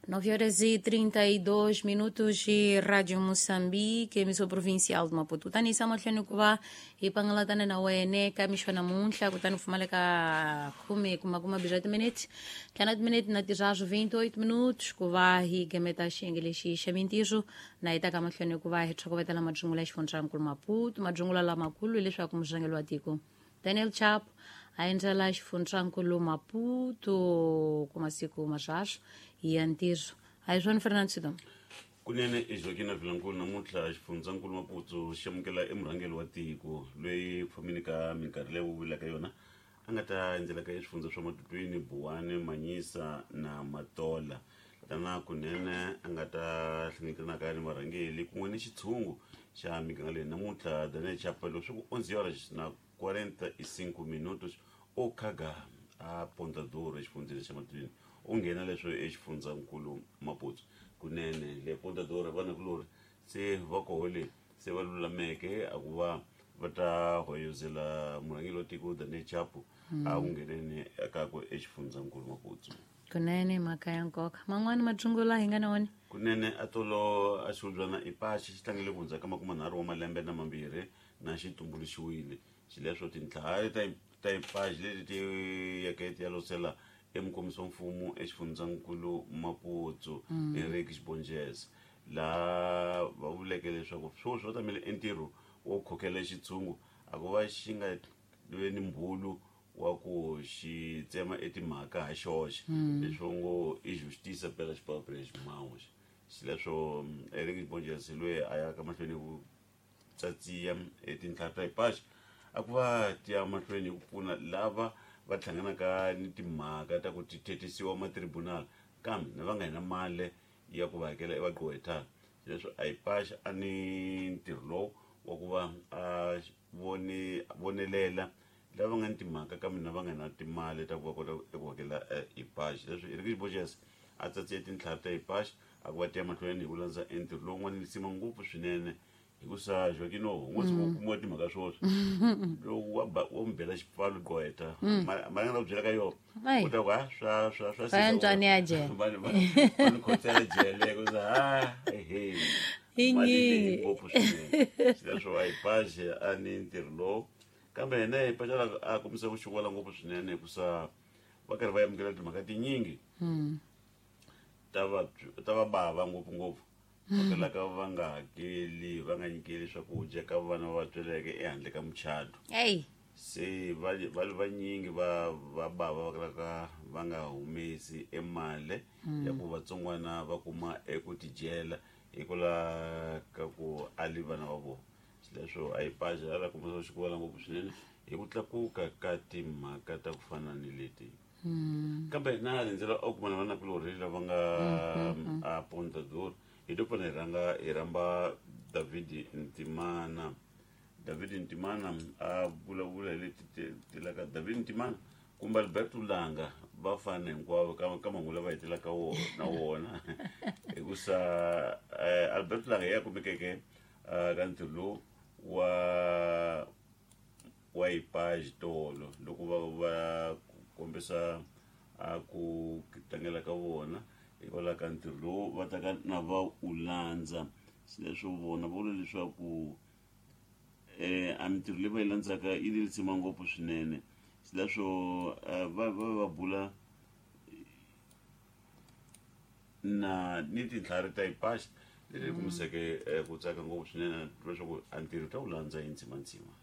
9 horas e 32 minutos e Rádio Moçambique, emissão provincial de Maputo. Tani mahlweni ku va hi pangalatana na wene ka mixo namuntlha kutani pfumaleka khume kuma kuma bya timinete ntlhanu timinete na tirharu 28 minutos ku va hi gemeta xiyenge lexi xa mintirho na hi ta ka mahlweni ku va hi tlhokovetela madzungula ya xifundzankulu Maputo. Madzungula lamakulu hileswaku murhangeri wa tiko Daniel Chapo a endzela xifundzankulu Maputo ku masiku marharhu ya ntirho. A hi swona, Fernando Sidom? Kunene eJoaquina Vilankulu, namuntlha xifundzankulu Maputo xi amukela emurhangeri wa tiko loyi ku fambeni ka minkarhi leyi vulaka yona a nga ta endzelaka eswifundza swa Matutwini, Buwani, Manyisa na Matola, tana kunene a nga ta hlanganyetanaka ni varhangeli kun'we ni xitshungu xa miganga leyi. Namuntlha Daniel Chapa leswi ku 11 horas na 45 minutos o khaga a Ponta Duro exifundzeni xa Matutwini, u nghena leswo exifundzankulu Maputo. Kunene le Ponta Duro vanakulori se va koho le se va lulameke a ku va va ta hoyozela murhangeri wa tiko Daniel Chapo a ku ngheneni kakwe exifundzankulu Maputo. Kunene mhaka ya nkoka. Man'wani madzungula hi nga na wona? Kunene atolo a xihubyana ipaxi xi tlangele ku hundza ka 30 wa malembe na mambirhi na xi tumbuluxiwile. Xileswo tintlhari ta ipaxi leti ti yeke ti ya losela emukomisi wa mfumo exifundzankulu Maputo, Henrique Xibonjeza, laha va vuleke leswaku sweswi va tamele entirho wo khokhela xitshungu a ku va xi nga ve ni mbhulu wa ku xi tsema etimhaka ha xoxe, leswo ngo i justiça pelas próprias mãos. Xileswo Eric Xibonjeza loyi a ya ka mahlweni ku tsatsiya etintlhari ta ipaxi a ku va ti ya mahlweni hi ku pfuna lava va hlanganaka ni timhaka ta ku ti thethisiwa matribunal kambe na va nga hina mali ya ku va hakela evagqwetha. Leswi a ipaxi a ni ntirho lowu wa ku va a vonelela lava nga ni timhaka kambe na va nga na timali ta ku va kota eku hakela ipaxi. Leswi Eric Borges a tsatsiye tintlhari ta ipaxi a ku va tiya mahlweni hi ku landza entirho lowu nga ni lisima ngopfu swinene, hikusa Joaquino ngo se ku kumiwa timhaka swoswi lowu wa ba wa n'wi bela xipfalo gqwetha mali nga ta ku byela ka yona u ta ku ha swa Swa yantswani ya jele. Va ni khotsela jele ku sa ha ehe. I Mali leyi nyingi. ngopfu swinene. Xileswo a hi paxe a ni ntirho lowu, kambe yena hi paxe a kombisa ku xuwela ngopfu swinene hikusa va karhi va amukela timhaka tinyingi ta va bava ngopfungopfu va kalaka va nga hakeli, va nga nyikeli swakudya ka vana va tsweleke ehandle ka muchato. Eyi. Se va li vanyingi va bava va kalaka va nga humesi emali ya ku vatsongwana va kuma eku tidyela hikwalaho ka ku ali vana va vona. Xileswo a yi paxa a la kombisa xikuvala ngopfu swinene hi ku tlakuka ka timhaka ta ku fana ni leti. Kambe na rindzela o kuma na vanakulorhi lava nga a Ponta Duro, hi to pfana hi rhanga hi rhamba David Ntimana. David Ntimana a vulavula hi leti telaka David Ntimana kumbe Alberto Langa, va fana hinkwavo ka mahungu lava hetelaka na wona, hikusa Alberto Langa ya kumekeke ka ntirho lowu wa ipaxi tolo loko va kombisa a ku tlangela ka vona hikwalaho ka ntirho lowu va taka na va u landza. Leswo vona va vula leswaku a mintirho leyi va yi landzaka yi ni lisima ngopfu swinene. Leswo va bula na ni tintlhari ta ipaxi leti kumiseke ku tsaka ngopfu swinene leswaku a ntirho ta wu landza hi ndzimandzima.